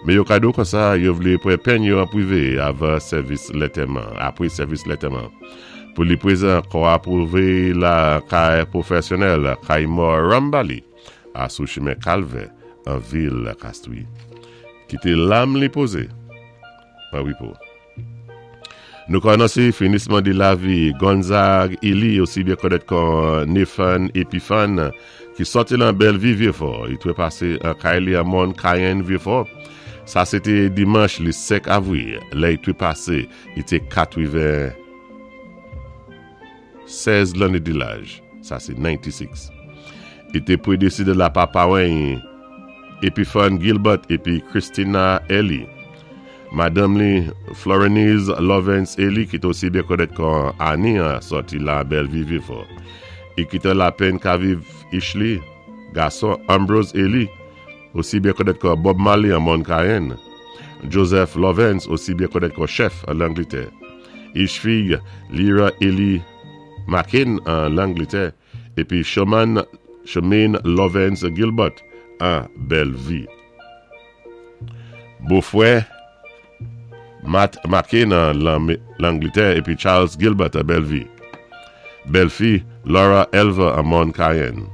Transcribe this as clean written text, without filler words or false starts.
Mé yo ka di-w konsa yo vlé pran penn yo an pwivé avan sèvis lantèman, apwé sèvis lantèman. Pou li pwézan, kò a pwouvé la kay pwofèsyonèl Kaymor Rambali a sou chimen Kalvè an vil Kastri. Kité lam li pozé an wipo. Nou ka anonse finisman di lavi Gonzague Elie, osi byen konèt kon Nathan Epiphane, ki sòti lan Bèlvi Vyefò. Li trepase an kay li an mòn Kayenn Vyefò. Sa se te dimanch li 5 avril, lè li trepase, li te 96 lanne di laj, sa se 96. Li te predeside la pa paran Epiphane Gilbert epi Christina Elie. Madanm li, Florenise Lovens Elie ki te osi byen konèt kon Annie an sòti lan Bèlvi Vyefò. I kite lapenn ka viv ich li, gason Ambrose Elie, osi byen konèt kon Bob Marley an Mòn Kayenn, Joseph Lovens osi byen konèt kon Chèf an Langlitè, ich fiy Lyra Elie Makin an Langlitè, epi Sherman Shermaine Lovens Gilbert an Bèlvi. Bofrè Matt Mackay nan Langlitè epi Charles Gilbert an Bèlvi. Bèlfi Laura Elva an Mòn Kayenn.